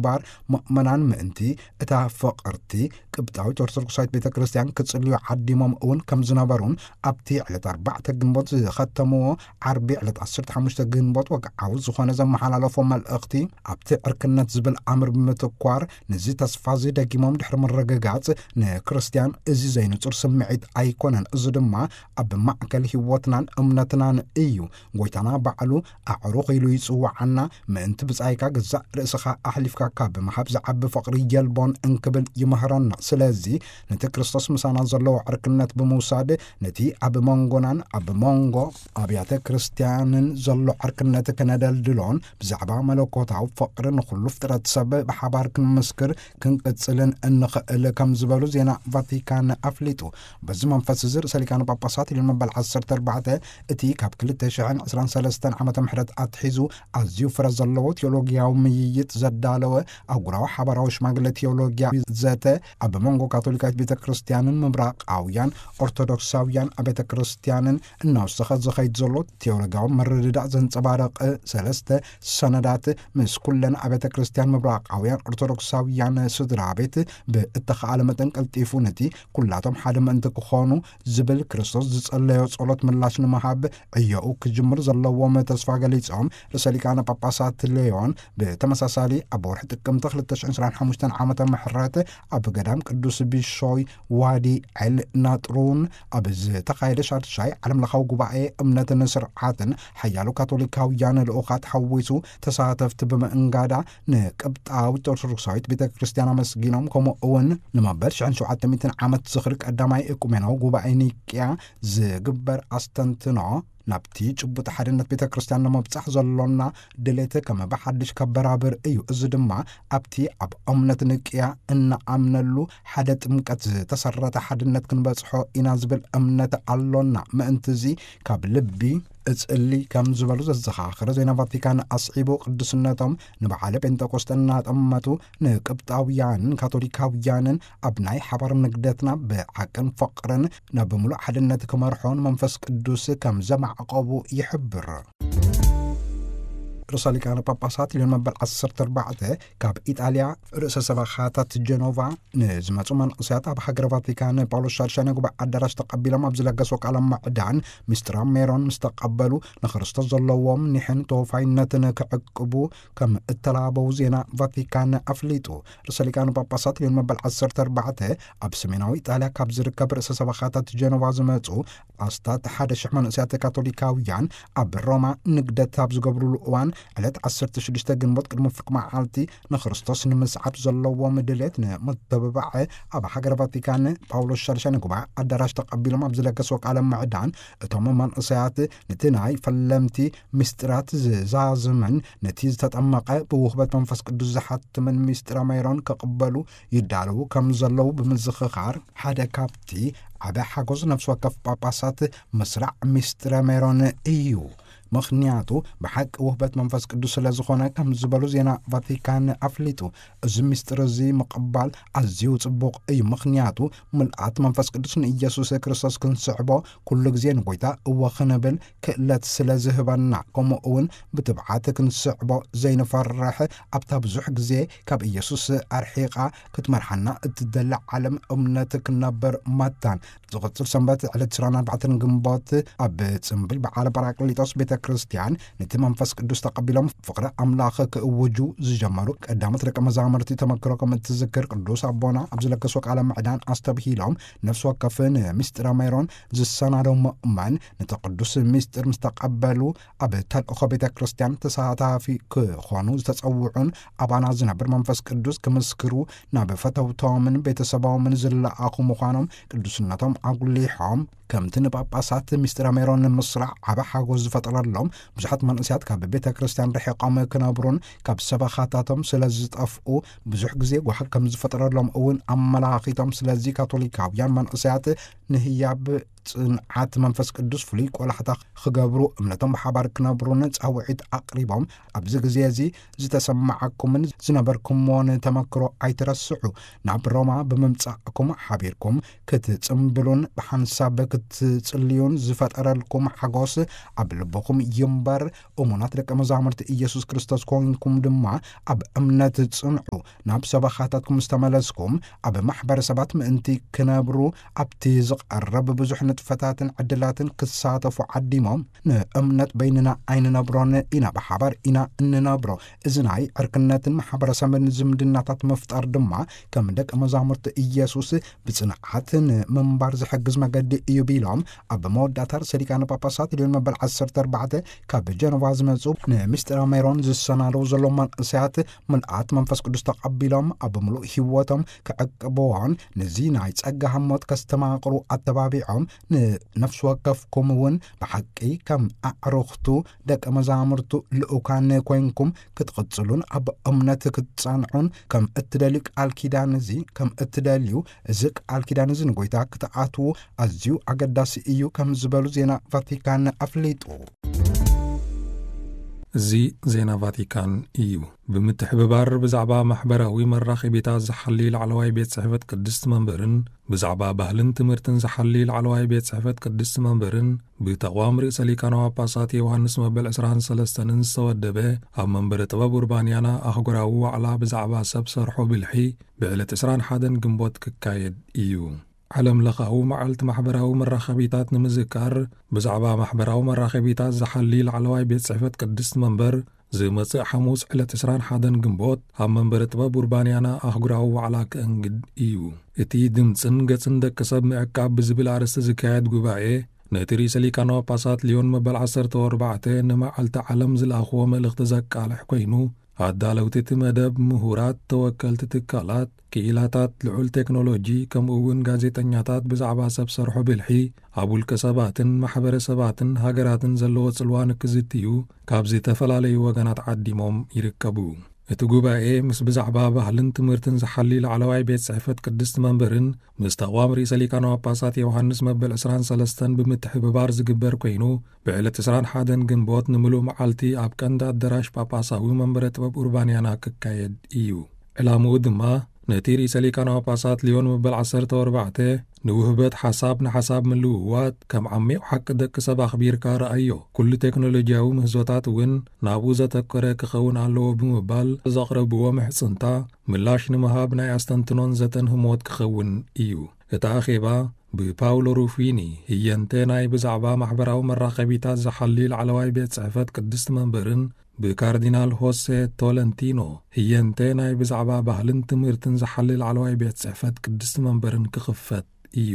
ባር ምእመናን ምእንቲ እታ ፍቕርቲ ቅብጣዊት ኦርቶዶክሳዊት ቤተ ክርስቲያን ክጽልዩ ዓዲሞም እውን ከም ዝነበሩን፣ ኣብቲ ዕለት ኣርባዕተ ግንቦት ዝኸተምዎ ዓርቢ ዕለት ዓሰርተ ሓሙሽተ ግንቦት ወግዓዊ ዝኾነ ዘመሓላለፎ መልእኽቲ፣ ኣብቲ ዕርክነት ዝብል ኣምር ብምትኳር፣ ነዚ ተስፋ እዚ ደጊሞም ድሕሪ ምርግጋጽ፣ ንክርስቲያን እዚ ዘይንጹር ስምዒት ኣይኮነን። እዚ ድማ ኣብ ማእከል ህይወትናን እምነትናን እዩ። ጎይታና ባዕሉ ኣዕሩኽ ኢሉ ይጽውዓና፣ ምእንቲ ብጻይካ ገዛእ ርእስኻ ኣሕሊፍካ ካብ ምሃብ ዝዓቢ ፍቕሪ የልቦን እንክብል ይምህረና። ስለዚ፣ ነቲ ክርስቶስ ምሳና ዘለዎ ዕርክነት ብምውሳድ፣ ነቲ ኣብ መንጎናን ኣብ መንጎ ኣብያተ ክርስቲያንን ዘሎ ዕርክነት ከነደልድሎን፣ ብዛዕባ መለኮታዊ ፍቕሪ ንኹሉ ፍጥረት ሰብ ብሓባር ክንምስክር ክንቅጽልን እንኽእል ከም ዝበሉ ዜና ቫቲካን ኣፍሊጡ። በዚ መንፈስ እዚ ርእሰ ሊቃነ ጳጳሳት ሊዮን መበል ዓሰርተ ኣርባዕተ እቲ ካብ ክልተ ሽሕን ዕስራን ሰለስተን ዓመተ ምሕረት ኣትሒዙ ኣዝዩ ፍረ ዘለዎ ቴዎሎጊያዊ ምይይጥ ዘዳለወ ኣህጉራዊ ሓባራዊ ሽማግለ ቴዎሎጊያ ዘተ ኣብ መንጎ ካቶሊካዊት ቤተ ክርስቲያንን ምብራቓውያን ኦርቶዶክሳውያን ኣብያተ ክርስቲያንን እናወሰኸ ዝኸይድ ዘሎ ቴዎሎጊያዊ ምርድዳእ ዘንጸባርቕ ሰለስተ ሰነዳት ምስ ኩለን ኣብያተ ክርስቲያን ምብራቓውያን ኦርቶዶክሳውያን ስድራ ቤት ብእተኻእለ መጠን ቀልጢፉ ነቲ ኩላቶም ሓደ ምእንቲ ክኾኑ ዝብል ክርስቶስ ዝጸለዮ ጸሎት ምላሽ ንምሃብ ዕዮኡ ክጅምር ዘለዎም ተስፋ ገሊጾም፣ ርእሰ ሊቃነ ጳጳሳት ሌዮን ብተመሳሳሊ ኣብ ወርሒ ጥቅምቲ ክልተ ሽሕን ዕስራን ሓሙሽተን ዓመተ ምሕረት ኣብ ገዳም ቅዱስ ቢሾይ ዋዲ ዐል ናጥሩን ኣብ ዝተኻየደ ሻድሻይ ዓለም ለኻዊ ጉባኤ እምነትን ስርዓትን ሓያሎ ካቶሊካውያን ልኡኻት ሓዊሱ ተሳተፍቲ ብምእንጋዳ ንቅብጣዊት ኦርቶዶክሳዊት ቤተ ክርስቲያን ኣመስጊኖም፣ ከምኡ እውን ንመበል ሽሕን ሸውዓተ ሚእትን ዓመት ዝኽሪ ቀዳማይ እኩሜናዊ ጉባኤ ኒቅያ ዝግበር ኣስተንትኖ ናብቲ ጭቡጥ ሓድነት ቤተ ክርስቲያን ንምብጻሕ ዘሎና ድሌት ከም ብሓድሽ ከበራብር እዩ። እዚ ድማ ኣብቲ ኣብ እምነት ንቅያ እንኣምነሉ ሓደ ጥምቀት ዝተሰረተ ሓድነት ክንበጽሖ ኢና ዝብል እምነት ኣሎና። ምእንቲ እዚ ካብ ልቢ እጽሊ ከም ዝበሉ ዘዘኻኽረ ዜና ቫቲካን ኣስዒቡ፣ ቅዱስነቶም ንበዓለ ጴንጠቆስጠ እናጠመቱ ንቅብጣውያንን ካቶሊካውያንን ኣብ ናይ ሓባር ንግደትና ብሓቅን ፍቕርን ናብ ምሉእ ሓድነት ክመርሖ ንመንፈስ ቅዱስ ከም ዘማዕቆቡ ይሕብር። ርእሰ ሊቃነ ጳጳሳት ሊዮን መበል ዓሰርተ ኣርባዕተ ካብ ኢጣልያ ርእሰ ሰበኻታት ጀኖቫ ንዝመጹ መንእሰያት ኣብ ሃገረ ቫቲካን ጳውሎስ ሻድሻይ ናይ ጉባኤ ኣዳራሽ ተቐቢሎም ኣብ ዝለገስዎ ቃለ ምዕዳን፣ ምስጢራ ሜሮን ምስ ተቐበሉ፣ ንክርስቶስ ዘለዎም ኒሕን ተወፋይነትን ክዕቅቡ ከም እተላበዉ ዜና ቫቲካን ኣፍሊጡ። ርእሰ ሊቃነ ጳጳሳት ሊዮን መበል ዓሰርተ ኣርባዕተ ኣብ ሰሜናዊ ኢጣልያ ካብ ዝርከብ ርእሰ ሰበኻታት ጀኖቫ ዝመጹ ኣስታት ሓደ ሽሕ መንእሰያት ካቶሊካውያን ኣብ ሮማ ንግደት ኣብ ዝገብሩሉ እዋን፣ ዕለት ዓሰርተ ሽዱሽተ ግንቦት ቅድሚ ፍርቂ መዓልቲ ንክርስቶስ ንምስዓብ ዘለዎም ድሌት ንምትብባዕ ኣብ ሃገረ ቫቲካን ጳውሎስ ሻድሻይ ንጉባኤ ኣዳራሽ ተቐቢሎም ኣብ ዝለገስዎ ቃለ ምዕዳን፣ እቶም መንእሰያት ነቲ ናይ ፈለምቲ ምስጢራት ዝዛዝምን ነቲ ዝተጠመቐ ብውህበት መንፈስ ቅዱስ ዝሓትምን ምስጢረ ሜሮን ክቕበሉ ይዳለዉ ከም ዘለዉ ብምዝኽኻር፣ ሓደ ካብቲ ዓቢ ሓጎስ ነፍሲ ወከፍ ጳጳሳት ምስራዕ ምስጢረ ሜሮን እዩ። ምኽንያቱ ብሓቂ ውህበት መንፈስ ቅዱስ ስለ ዝኾነ ከም ዝበሉ ዜና ቫቲካን ኣፍሊጡ። እዚ ምስጢር እዚ ምቕባል ኣዝዩ ጽቡቕ እዩ። ምኽንያቱ ምልኣት መንፈስ ቅዱስ ንኢየሱስ ክርስቶስ ክንስዕቦ ኩሉ ግዜ ንጎይታ እወ ክንብል ክእለት ስለ ዝህበና፣ ከምኡ እውን ብትብዓት ክንስዕቦ ዘይንፈርሕ፣ ኣብታ ብዙሕ ግዜ ካብ ኢየሱስ ኣርሒቓ ክትመርሓና እትደሊ ዓለም እምነት ክንነብር መታን። ዝቕጽል ሰንበት ዕለት ዕስራን ኣርባዕተን ግንቦት ኣብ ጽምብል በዓለ ጳራቅሊጦስ ቤተ ክርስቲያን ነቲ መንፈስ ቅዱስ ተቐቢሎም ፍቕሪ ኣምላኽ ክእውጁ ዝጀመሩ ቀዳሞት ደቀ መዛሙርቲ ተመክሮ ከም እትዝክር ቅዱስ ኣቦና ኣብ ዝለገሶ ቃለ ምዕዳን ኣስተብሂሎም፣ ነፍሲ ወከፍ ንምስጢረ ሜሮን ዝሰናዶ ምእመን ነቲ ቅዱስ ምስጢር ምስ ተቐበሉ ኣብ ተልእኾ ቤተ ክርስቲያን ተሳታፊ ክኾኑ ዝተጸውዑን ኣባና ዝነብር መንፈስ ቅዱስ ክምስክሩ ናብ ፈተውቶምን ቤተሰቦምን ዝለኣኹ ምዃኖም ቅዱስነቶም ኣጉሊሖም፣ ከምቲ ንጳጳሳት ምስጢረ ሜሮን ንምስራዕ ዓቢ ሓጎስ ዝፈጠረሎም፣ ብዙሓት መንእሰያት ካብ ቤተ ክርስቲያን ርሒቖም ክነብሩን ካብ ሰበኻታቶም ስለ ዝጠፍኡ ብዙሕ ግዜ ጓሂ ከም ዝፈጠረሎም እውን ኣመላኺቶም። ስለዚ ካቶሊካውያን መንእሰያት ንህያብ ጽንዓት መንፈስ ቅዱስ ፍሉይ ቆላሕታ ክገብሩ፣ እምነቶም ብሓባር ክነብሩን ጻውዒት ኣቕሪቦም፣ ኣብዚ ግዜ እዚ ዝተሰማዓኩምን ዝነበርኩምዎን ተመክሮ ኣይትረስዑ። ናብ ሮማ ብምምጻእኩም ሓቢርኩም ክትጽምብሉን ብሓንሳብ ክትጽልዩን ዝፈጠረልኩም ሓጎስ ኣብ ልብኹም ይምበር፣ እሙናት ደቀ መዛሙርቲ ኢየሱስ ክርስቶስ ኮይንኩም ድማ ኣብ እምነት ጽንዑ፣ ናብ ሰበኻታትኩም ዝተመለስኩም፣ ኣብ ማሕበረሰባት ምእንቲ ክነብሩ፣ ኣብቲ ዝቐረብ ብዙሕ ንጥፈታትን ዕድላትን ክሳተፉ ዓዲሞም፣ ንእምነት በይንና ኣይንነብሮን ኢና፣ ብሓባር ኢና እንነብሮ። እዚ ናይ ዕርክነትን ማሕበረሰብን ዝምድናታት ምፍጣር ድማ ከም ደቀ መዛሙርቲ ኢየሱስ ብጽንዓት ንምንባር ዝሕግዝ መገዲ እዩ ቢሎም፣ ኣብ መወዳእታ ርእሰ ሊቃነ ጳጳሳት ሊዮን መበል ዓሰርተ ኣርባዕተ ካብ ጀነቫ ዝመጹ፣ ንምስጢራ ሜሮን ዝሰናደው ዘሎ መንእሰያት ምልኣት መንፈስ ቅዱስ ተቐቢሎም ኣብ ምሉእ ህይወቶም ክዕቅብዎን ነዚ ናይ ጸጋ ህሞት ከስተማቕሩ ኣተባቢዖም፣ ንነፍሲ ወከፍኩም እውን ብሓቂ ከም ኣዕሩኽቱ ደቀ መዛሙርቱ ልኡካን ኮይንኩም ክትቕጽሉን ኣብ እምነት ክትጸንዑን ከም እትደልዩ ቃል ኪዳን እዚ ከም እትደልዩ፣ እዚ ቃል ኪዳን እዚ ንጎይታ ክትኣትዉ ኣዝዩ ኣገዳሲ እዩ ከም ዝበሉ ዜና ቫቲካን ኣፍሊጡ። እዚ ዜና ቫቲካን እዩ። ብምትሕብባር ብዛዕባ ማሕበራዊ መራኸቢታት ዝሓሊ ላዕለዋይ ቤት ጽሕፈት ቅድስቲ መንበርን ብዛዕባ ባህልን ትምህርትን ዝሓሊ ላዕለዋይ ቤት ጽሕፈት ቅድስቲ መንበርን ብተቕዋም ርእሰ ሊቃነ ጳጳሳት ዮሃንስ መበል ዕስራን ሰለስተን ዝተወደበ ኣብ መንበረ ጥበብ ኡርባንያና ኣህጉራዊ ዋዕላ ብዛዕባ ሰብ ሰርሖ ብልሒ ብዕለት ዕስራን ሓደን ግንቦት ክካየድ እዩ። ዓለም ለኻዊ መዓልቲ ማሕበራዊ መራኸቢታት ንምዝካር ብዛዕባ ማሕበራዊ መራኸቢታት ዝሓሊ ላዕለዋይ ቤት ጽሕፈት ቅድስቲ መንበር ዝመጽእ ሓሙስ ዕለት ዕስራን ሓደን ግንቦት ኣብ መንበረ ጥበብ ኡርባንያና ኣህጉራዊ ዋዕላ ክእንግድ እዩ። እቲ ድምጽን ገጽን ደቂ ሰብ ምዕቃብ ብዝብል ኣርእስቲ ዝካየድ ጉባኤ ነቲ ርእሰ ሊቃነ ጳጳሳት ሊዮን መበል ዓሰርተ ኣርባዕተ ንመዓልቲ ዓለም ዝለኣኽዎ መልእኽቲ ዘቃልሕ ኮይኑ፣ ኣዳለውቲ እቲ መደብ ምሁራት፣ ተወከልቲ ትካላት፣ ክኢላታት ልዑል ቴክኖሎጂ፣ ከምኡ እውን ጋዜጠኛታት ብዛዕባ ሰብ ሰርሖ ብልሒ ኣብ ውልቀ ሰባትን ማሕበረሰባትን ሃገራትን ዘለዎ ጽልዋ ንክዝትዩ ካብ ዝተፈላለዩ ወገናት ዓዲሞም ይርከቡ። እቲ ጉባኤ ምስ ብዛዕባ ባህልን ትምህርትን ዝሓሊ ላዕለዋይ ቤት ጽሕፈት ቅድስቲ መንበርን ምስ ተቕዋም ርእሰ ሊቃነ ጳጳሳት ዮሃንስ መበል ዕስራን ሰለስተን ብምትሕብባር ዝግበር ኮይኑ፣ ብዕለት ዕስራን ሓደን ግንቦት ንምሉእ መዓልቲ ኣብ ቀንዲ ኣደራሽ ጳጳሳዊ መንበረ ጥበብ ኡርባንያና ክካየድ እዩ። ዕላምኡ ድማ ነቲ ርእሰ ሊቃነ ጳጳሳት ሊዮን መበል ዓሰርተ ኣርባዕተ ንውህበት ሓሳብ ንሓሳብ ምልውዋጥ ከም ዓሚቕ ሓቂ ደቂ ሰብ ኣኽቢርካ ረኣዮ። ኩሉ ቴክኖሎጂያዊ ምህዞታት እውን ናብኡ ዘተኮረ ክኸውን ኣለዎ ብምባል ዘቕረብዎ ምሕጽንታ ምላሽ ንምሃብ ናይ ኣስተንትኖን ዘተን ህሞት ክኸውን እዩ። እቲ ኣኼባ ብፓውሎ ሩፊኒ ህየንተ ናይ ብዛዕባ ማሕበራዊ መራኸቢታት ዝሓሊ ላዕለዋይ ቤት ጽሕፈት ቅድስቲ መንበርን ብካርዲናል ሆሴ ቶለንቲኖ ህየንተ ናይ ብዛዕባ ባህልን ትምህርትን ዝሓሊ ላዕለዋይ ቤት ጽሕፈት ቅድስቲ መንበርን ክኽፈት እዩ።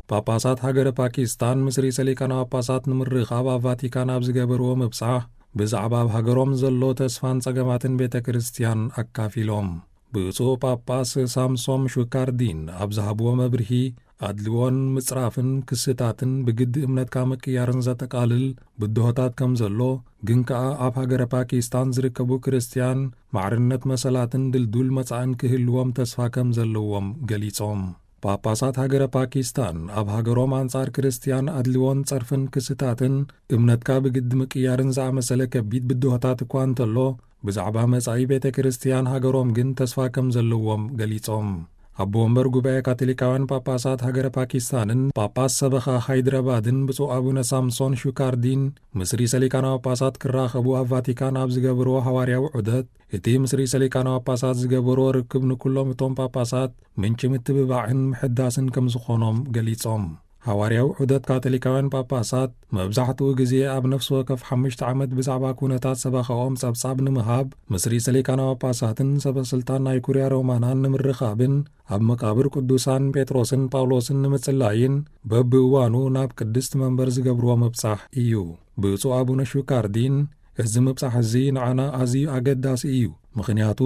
ጳጳሳት ሃገረ ፓኪስታን ምስ ርእሰ ሊቃነ ጳጳሳት ንምርኻብ ኣብ ቫቲካን ኣብ ዝገበርዎ ምብጻሕ ብዛዕባ ኣብ ሃገሮም ዘሎ ተስፋን ጸገማትን ቤተ ክርስቲያን ኣካፊሎም። ብፁዕ ጳጳስ ሳምሶም ሹካርዲን ኣብ ዝሃብዎ መብርሂ፣ ኣድልዎን ምጽራፍን ክስታትን ብግዲ እምነትካ ምቅያርን ዘጠቓልል ብድሆታት ከም ዘሎ፣ ግን ከኣ ኣብ ሃገረ ፓኪስታን ዝርከቡ ክርስትያን ማዕርነት መሰላትን ድልዱል መጻእን ክህልዎም ተስፋ ከም ዘለዎም ገሊጾም። ጳጳሳት ሃገረ ፓኪስታን ኣብ ሃገሮም ኣንጻር ክርስትያን ኣድልዎን ጸርፍን ክስታትን እምነትካ ብግዲ ምቅያርን ዝኣመሰለ ከቢድ ብድሆታት እኳ እንተሎ፣ ብዛዕባ መጻኢ ቤተ ክርስትያን ሃገሮም ግን ተስፋ ከም ዘለዎም ገሊጾም። ኣቦ ወንበር ጉባኤ ካቶሊካውያን ጳጳሳት ሃገረ ፓኪስታንን ጳጳስ ሰበኻ ሃይድራባድን ብፁዕ ኣቡነ ሳምሶን ሹካርዲን ምስ ርእሰ ሊቃነ ጳጳሳት ክራኸቡ ኣብ ቫቲካን ኣብ ዝገበርዎ ሃዋርያዊ ዑደት፣ እቲ ምስ ርእሰ ሊቃነ ጳጳሳት ዝገበርዎ ርክብ ንኩሎም እቶም ጳጳሳት ምንጪ ምትብባዕን ምሕዳስን ከም ዝኾኖም ገሊጾም። ሃዋርያዊ ዑደት ካቶሊካውያን ጳጳሳት መብዛሕትኡ ግዜ ኣብ ነፍሲ ወከፍ ሓሙሽተ ዓመት ብዛዕባ ኩነታት ሰበኻኦም ጸብጻብ ንምሃብ ምስ ርእሰ ሊቃነ ጳጳሳትን ሰበ ስልጣን ናይ ኩርያ ሮማናን ንምርኻብን ኣብ መቃብር ቅዱሳን ጴጥሮስን ጳውሎስን ንምጽላይን በብእዋኑ ናብ ቅድስቲ መንበር ዝገብርዎ ምብጻሕ እዩ። ብፁዕ ኣቡነ ሹካርዲን፣ እዚ ምብጻሕ እዚ ንዓና ኣዝዩ ኣገዳሲ እዩ፣ ምኽንያቱ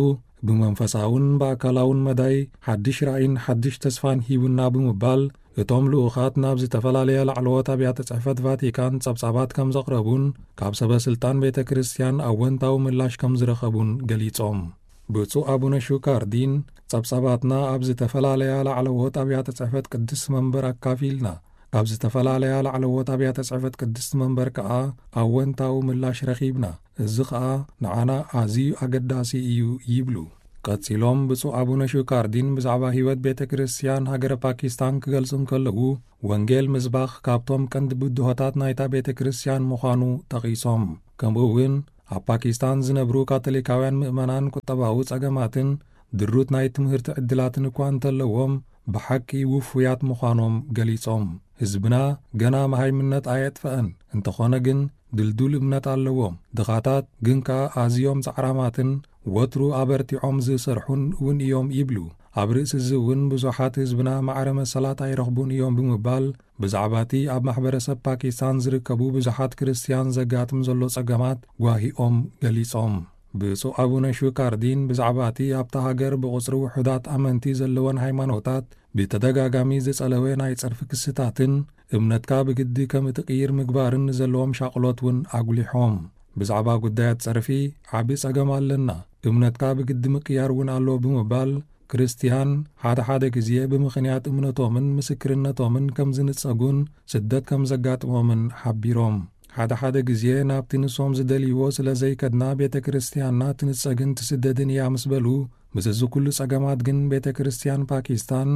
ብመንፈሳውን ብኣካላውን መዳይ ሓድሽ ራእይን ሓድሽ ተስፋን ሂቡና ብምባል፣ እቶም ልኡኻት ናብ ዝተፈላለያ ላዕለዎት ኣብያተ ጽሕፈት ቫቲካን ጸብጻባት ከም ዘቕረቡን ካብ ሰበ ስልጣን ቤተ ክርስቲያን ኣወንታዊ ምላሽ ከም ዝረኸቡን ገሊጾም። ብፁዕ ኣቡነ ሹካርዲን፣ ጸብጻባትና ኣብ ዝተፈላለያ ላዕለዎት ኣብያተ ጽሕፈት ቅድስቲ መንበር ኣካፊልና፣ ካብ ዝተፈላለያ ላዕለዎት ኣብያተ ጽሕፈት ቅድስቲ መንበር ከኣ ኣወንታዊ ምላሽ ረኺብና፣ እዚ ኸኣ ንዓና ኣዝዩ ኣገዳሲ እዩ ይብሉ። ቀጺሎም ብፁዕ ኣቡነ ሹካርዲን ብዛዕባ ህይወት ቤተ ክርስቲያን ሃገረ ፓኪስታን ክገልጹ እንከለዉ፣ ወንጌል ምስባኽ ካብቶም ቀንዲ ብድሆታት ናይታ ቤተ ክርስቲያን ምዃኑ ጠቒሶም። ከምኡ እውን ኣብ ፓኪስታን ዝነብሩ ካቶሊካውያን ምእመናን ቁጠባዊ ጸገማትን ድሩት ናይ ትምህርቲ ዕድላትን እኳ እንተለዎም፣ ብሓቂ ውፉያት ምዃኖም ገሊጾም። ህዝብና ገና መሃይምነት ኣየጥፈአን፣ እንተኾነ ግን ድልዱል እምነት ኣለዎም። ድኻታት ግን ከኣ ኣዝዮም ጻዕራማትን ወትሩ ኣበርቲዖም ዝሰርሑን እውን እዮም ይብሉ። ኣብ ርእሲ እዚ እውን ብዙሓት ህዝብና ማዕረ መሰላት ኣይረኽቡን እዮም ብምባል ብዛዕባ እቲ ኣብ ማሕበረሰብ ፓኪስታን ዝርከቡ ብዙሓት ክርስትያን ዘጋጥም ዘሎ ጸገማት ጓሂኦም ገሊጾም። ብፁዕ ኣቡነ ሹካርዲን ብዛዕባ እቲ ኣብታ ሃገር ብቑጽሪ ውሑዳት ኣመንቲ ዘለወን ሃይማኖታት ብተደጋጋሚ ዝጸለወ ናይ ጸርፊ ክስታትን እምነትካ ብግዲ ከም እትቕይር ምግባርን ንዘለዎም ሻቕሎት እውን ኣጉሊሖም። ብዛዕባ ጉዳያት ጸርፊ ዓቢ ጸገም ኣለና። እምነትካ ብግዲ ምቅያር እውን ኣሎ ብምባል፣ ክርስትያን ሓደ ሓደ ግዜ ብምኽንያት እምነቶምን ምስክርነቶምን ከም ዝንጸጉን ስደት ከም ዘጋጥሞምን ሓቢሮም። ሓደ ሓደ ግዜ ናብቲ ንሶም ዝደልይዎ ስለ ዘይከድና ቤተ ክርስትያንና ትንጸግን ትስደድን እያ ምስ በሉ፣ ምስዚ ኩሉ ጸገማት ግን ቤተ ክርስትያን ፓኪስታን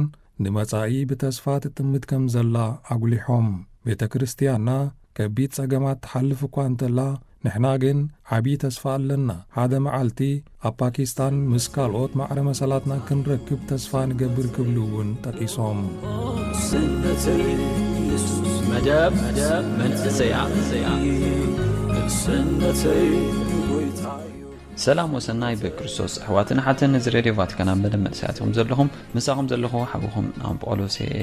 ንመጻኢ ብተስፋ ትጥምት ከም ዘላ ኣጉሊሖም። ቤተ ክርስትያንና ከቢድ ጸገማት ትሓልፍ እኳ እንተላ፣ ንሕና ግን ዓቢ ተስፋ ኣለና። ሓደ መዓልቲ ኣብ ፓኪስታን ምስ ካልኦት ማዕረ መሰላትና ክንረክብ ተስፋ ንገብር ክብሉ እውን ጠቂሶም። ስነተይ የሱስ መደብ መንእሰያ ስነተይ ጎይታ እዩ። ሰላም ወሰናይ ብክርስቶስ ኣሕዋትን ሓትን፣ እዚ ሬድዮ ቫቲካን ኣብ መደብ መንእሰያትኩም ዘለኹም፣ ምሳኹም ዘለኹ ሓውኹም ናም ጳውሎስ እየ።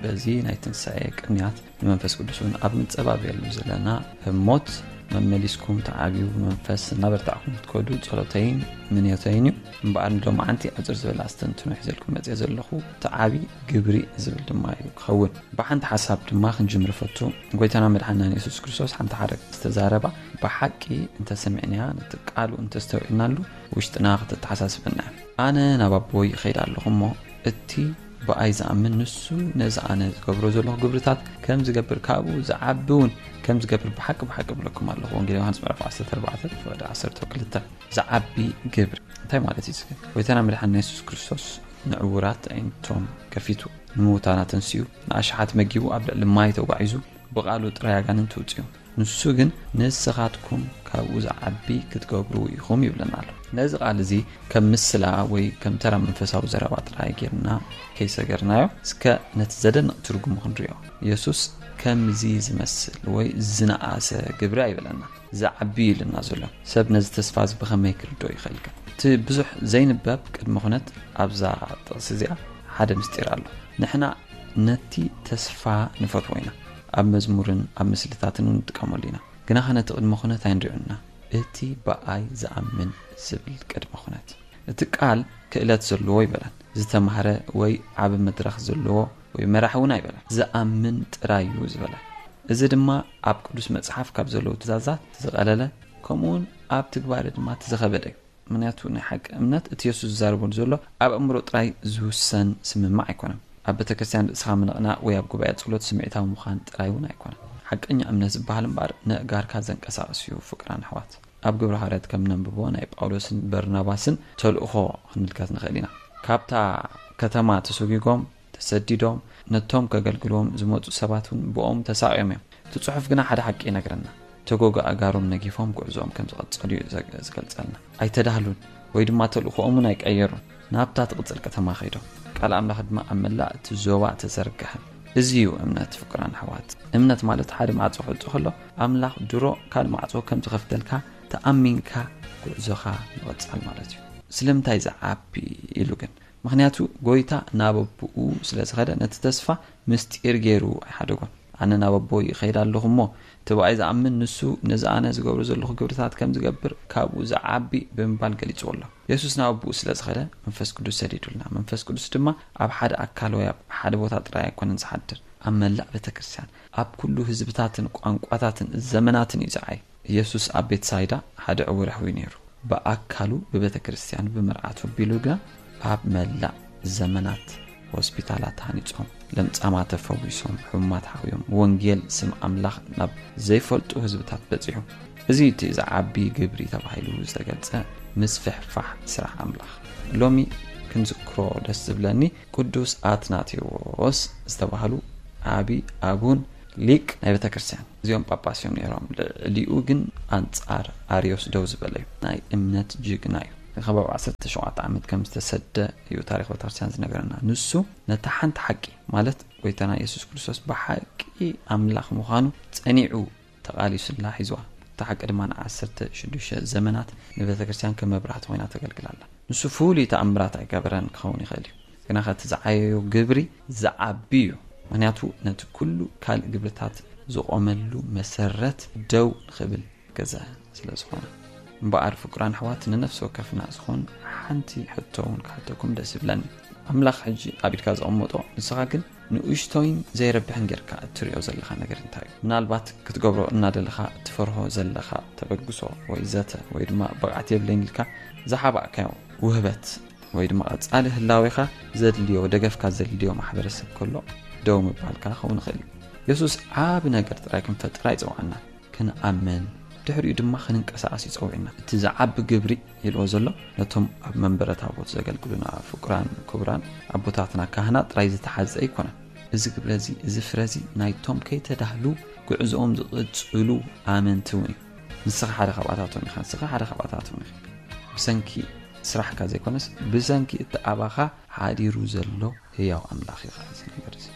በዚ ናይ ትንሳኤ ቅንያት ንመንፈስ ቅዱስ እውን ኣብ ንጸባብየሉ ዘለና ህሞት መመሊስኩም ተዓብዩ ብመንፈስ እናበርታዕኩም ክትከዱ ጸሎተይን ምንዮተይን እዩ። እምበኣር ንሎማዓንቲ ኣጭር ዝበለ ኣስተንትኖ ሒዘልኩም መጽየ ዘለኹ ተዓቢ ግብሪ ዝብል ድማ እዩ ክኸውን። ብሓንቲ ሓሳብ ድማ ክንጅምር ፈቱ። ጎይታና መድሓናን የሱስ ክርስቶስ ሓንቲ ሓረግ ዝተዛረባ ብሓቂ እንተሰሚዕናያ ነቲ ቃሉ እንተስተውዒልናሉ ውሽጥና ክትተሓሳስበና እያ። ኣነ ናብ ኣቦይ ይኸይድ ኣለኹ እሞ እቲ ብኣይ ዝኣምን ንሱ ነዚ ኣነ ዝገብሮ ዘለኹ ግብርታት ከም ዝገብር ካብኡ ዝዓቢ እውን ከም ዝገብር ብሓቂ ብሓቂ እብለኩም ኣለኹ። ወንጌል ዮሃንስ ምዕራፍ ዓሰርተ ኣርባዕተ ፍቕዲ ዓሰርተ ክልተ። ዝዓቢ ግብሪ እንታይ ማለት እዩ? ዝግን ጎይታና መድሓንና የሱስ ክርስቶስ ንዕውራት ኣዒንቶም ከፊቱ፣ ንምውታን ኣተንሲኡ፣ ንኣሽሓት መጊቡ፣ ኣብ ልዕሊ ማይ ተጓዒዙ፣ ብቓሉ ጥራይ ኣጋንንቲ ውፅኡ። ንሱ ግን ንስኻትኩም ካብኡ ዝዓቢ ክትገብሩ ኢኹም ይብለና ኣሎ። ነዚ ቃል እዚ ከም ምስላ ወይ ከም ተራ መንፈሳዊ ዘረባ ጥራይ ጌርና ከይሰገርናዮ፣ እስከ ነቲ ዘደንቕ ትርጉሙ ክንሪኦ። የሱስ ከምዚ ዝመስል ወይ ዝነኣሰ ግብሪ ኣይበለና፣ ዝዓቢ እዩ ኢሉና ዘሎ። ሰብ ነዚ ተስፋ እዚ ብኸመይ ክርድኦ ይኽእል ከ? እቲ ብዙሕ ዘይንበብ ቅድመ ኩነት ኣብዛ ጥቕሲ እዚኣ ሓደ ምስጢር ኣሎ። ንሕና ነቲ ተስፋ ንፈትዎ ኢና። ኣብ መዝሙርን ኣብ ምስልታትን እውን ንጥቀመሉ ኢና። ግናኸ ነቲ ቅድመ ኩነት ኣይንሪኦን ኢና። እቲ ብኣይ ዝኣምን ዝብል ቅድመ ኩነት። እቲ ቃል ክእለት ዘለዎ ኣይበለን። ዝተማህረ ወይ ዓቢ መድረኽ ዘለዎ ወይ መራሒ እውን ኣይበለን። ዝኣምን ጥራይ እዩ ዝበለ። እዚ ድማ ኣብ ቅዱስ መጽሓፍ ካብ ዘለዉ ትእዛዛት እቲ ዝቐለለ፣ ከምኡ እውን ኣብ ትግባረ ድማ እቲ ዝኸበደ እዩ። ምኽንያቱ ናይ ሓቂ እምነት እቲ የሱስ ዝዛረበሉ ዘሎ ኣብ ኣእምሮ ጥራይ ዝውሰን ስምማዕ ኣይኮነን። ኣብ ቤተ ክርስቲያን ርእስኻ ምንቕናቕ ወይ ኣብ ጉባኤ ጸሎት ስምዒታዊ ምዃን ጥራይ እውን ኣይኮነን። ሓቀኛ እምነት ዝበሃል እምበኣር ነእጋርካ ዘንቀሳቕስ እዩ። ፍቅራን ኣሕዋት፣ ኣብ ግብረ ሃዋርያት ከም ነንብቦ ናይ ጳውሎስን በርናባስን ተልእኾ ክንምልከት ንኽእል ኢና። ካብታ ከተማ ተሰጒጎም ተሰዲዶም ነቶም ከገልግልዎም ዝመጹ ሰባት እውን ብኦም ተሳቕዮም እዮም። እቲ ጽሑፍ ግና ሓደ ሓቂ ይነግረና። ተጎጎ ኣእጋሮም ነጊፎም ጉዕዞኦም ከም ዝቐጸሉ እዩ ዘ-፣ ዝገልጸልና። ኣይተዳህሉን ወይ ድማ ተልእኾኦም እውን ኣይቀየሩን። ናብታ ትቕጽል ከተማ ከይዶም። ቃል ኣምላኽ ድማ ኣብ መላእ እቲ ዞባ ተዘርግሐ። እዚ እዩ እምነት ፍቅራን ኣሕዋት። እምነት ማለት ሓደ ማዕጾ ክዕጾ ከሎ ኣምላኽ ድሮ ካልእ ማዕጾ ከም ዝኸፍተልካ ተኣሚንካ ጉዕዞኻ ምቕጻል ማለት እዩ። ስለምንታይ ዝዓቢ ኢሉ ግን? ምኽንያቱ ጎይታ ናብ ኣቦኡ ስለ ዝኸደ ነቲ ተስፋ ምስጢር ገይሩ ኣይሓደጎን። ኣነ ናብ ኣቦይ ይኸይድ ኣለኹ እሞ እቲ ብኣይ ዝኣምን ንሱ ነዚ ኣነ ዝገብሮ ዘለኹ ግብርታት ከም ዝገብር ካብኡ ዝዓቢ ብምባል ገሊጽዎ ኣሎ። የሱስ ናብ ኣቦኡ ስለ ዝኸደ መንፈስ ቅዱስ ሰዲዱልና። መንፈስ ቅዱስ ድማ ኣብ ሓደ ኣካል ወይ ኣብ ሓደ ቦታ ጥራይ ኣይኮነን ዝሓድር። ኣብ መላእ ቤተ ክርስቲያን፣ ኣብ ኩሉ ህዝብታትን ቋንቋታትን ዘመናትን እዩ ዝዓይ። ኢየሱስ ኣብ ቤትሳይዳ ሓደ ዕውር ኣሕውዩ ነይሩ። ብኣካሉ ብቤተ ክርስቲያን ብመርዓቱ ኣቢሉ ግና ኣብ መላእ ዘመናት ሆስፒታላት ተሃኒጾም፣ ለምጻማት ተፈዊሶም፣ ሕሙማት ሓውዮም፣ ወንጌል ስም ኣምላኽ ናብ ዘይፈልጡ ህዝብታት በጺሑ። እዚ እቲ ዝዓቢ ግብሪ ተባሂሉ ዝተገልጸ ምስፍሕፋሕ ስራሕ ኣምላኽ። ሎሚ ክንዝክሮ ደስ ዝብለኒ ቅዱስ ኣትናቴዎስ ዝተባህሉ ዓቢ ኣቡን ሊቅ ናይ ቤተ ክርስቲያን። እዚኦም ጳጳስ እዮም ነይሮም። ልዕሊኡ ግን ኣንጻር ኣርዮስ ደው ዝበለ እዩ። ናይ እምነት ጅግና እዩ። ከባቢ ዓሰርተ ሸውዓተ ዓመት ከም ዝተሰደ እዩ ታሪኽ ቤተ ክርስቲያን ዝነገረና። ንሱ ነታ ሓንቲ ሓቂ፣ ማለት ጎይታና የሱስ ክርስቶስ ብሓቂ ኣምላኽ ምዃኑ ጸኒዑ ተቓሊሱላ ሒዝዋ። እታ ሓቂ ድማ ንዓሰርተ ሽዱሽተ ዘመናት ንቤተ ክርስቲያን ከም መብራህቲ ኮይና ተገልግላላ። ንሱ ፍሉይ ተኣምራት ኣይገበረን ክኸውን ይኽእል እዩ፣ ግና እቲ ዝዓየዮ ግብሪ ዝዓቢ እዩ። ምኽንያቱ ነቲ ኩሉ ካልእ ግብርታት ዝቖመሉ መሰረት ደው ንኽብል ገዘ ስለ ዝኾነ። እምበኣር ፍቁራን ኣሕዋት፣ ንነፍሲ ወከፍና ዝኾን ሓንቲ ሕቶ እውን ክሓተኩም ደስ ይብለኒ። ኣምላኽ ሕጂ ኣብ ኢድካ ዘቐመጦ፣ ንስኻ ግን ንእሽቶይን ዘይረብሕን ጌርካ እትሪኦ ዘለኻ ነገር እንታይ እዩ? ምናልባት ክትገብሮ እናደለኻ እትፈርሆ ዘለኻ ተበግሶ ወይ ዘተ ወይ ድማ ብቕዓት የብለይን ኢልካ ዝሓባእካዮ ውህበት ወይ ድማ ቀጻሊ ህላዌኻ ዘድልዮ፣ ደገፍካ ዘድልዮ ማሕበረሰብ ከሎ ደው ምባልካ ክኸውን ይኽእል እዩ። የሱስ ዓቢ ነገር ጥራይ ክንፈጥር ኣይጸውዓና። ክንኣምን፣ ድሕሪኡ ድማ ክንንቀሳቐስ እዩ ጸዊዕና። እቲ ዝዓቢ ግብሪ ኢልዎ ዘሎ ነቶም ኣብ መንበረ ታቦት ዘገልግሉና ፍቁራን ክቡራን ኣቦታትና ካህናት ጥራይ ዝተሓዘ ኣይኮነን። እዚ ግብረ እዚ፣ እዚ ፍረ እዚ ናይቶም ከይተዳህሉ ጉዕዞኦም ዝቕጽሉ ኣመንቲ እውን እዩ። ንስኻ ሓደ ካብኣታቶም ኢኻ፣ ንስኻ ሓደ ካብኣታቶም ኢኻ። ብሰንኪ ስራሕካ ዘይኮነስ ብሰንኪ እቲ ኣባኻ ሓዲሩ ዘሎ ህያው ኣምላኽ እዩ ኸዓ እዚ ነገር እዚ።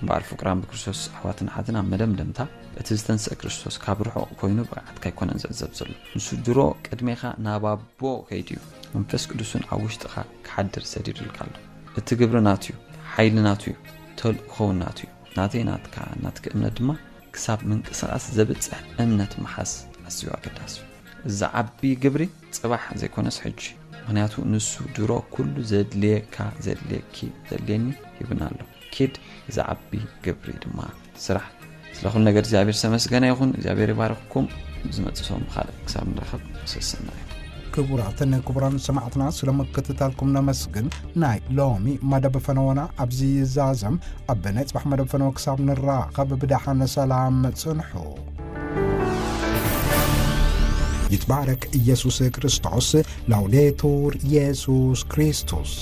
እምበኣር ፍቁራን ብክርስቶስ ኣሕዋትን ኣሓትን፣ ኣብ መደምደምታ እቲ ዝተንስአ ክርስቶስ ካብ ርሑቕ ኮይኑ ብቕዓትካ ኣይኮነን ዝዕዘብ ዘሎ። ንሱ ድሮ ቅድሜኻ ናብ ኣቦ ከይዱ እዩ። መንፈስ ቅዱስ እውን ኣብ ውሽጥኻ ክሓድር ሰዲዱልካ ኣሎ። እቲ ግብሪ ናቱ እዩ፣ ሓይሊ ናቱ እዩ፣ ተልእኾ እውን ናቱ እዩ። ናተይ ናትካ፣ ናትኪ እምነት ድማ ክሳብ ምንቅስቓስ ዘብጽሕ እምነት ምሓዝ ኣዝዩ ኣገዳሲ እዩ። እዚ ዓቢ ግብሪ ጽባሕ ዘይኮነስ ሕጂ። ምኽንያቱ ንሱ ድሮ ኩሉ ዘድልየካ፣ ዘድልየኪ፣ ዘድልየኒ ሂቡና ኣሎ። ኪድ እዚ ዓቢ ግብሪ ድማ ስራሕ። ስለ ኩሉ ነገር እግዚኣብሔር ዝተመስገነ ይኹን። እግዚኣብሔር ይባርኽኩም። ዝመጽእ ሰሙን ብኻልእ ክሳብ ንራኸብ ሰሰና እዩ። ክቡራትን ክቡራን ሰማዕትና፣ ስለ ምክትታልኩም ነመስግን። ናይ ሎሚ መደብ ፈነወና ኣብዚ ይዛዘም። ኣብ ናይ ጽባሕ መደብ ፈነወ ክሳብ ንራኸብ ብደሓን ሰላም ጽንሑ። ይትባረክ ኢየሱስ ክርስቶስ። ላውዴቱር ኢየሱስ ክርስቶስ።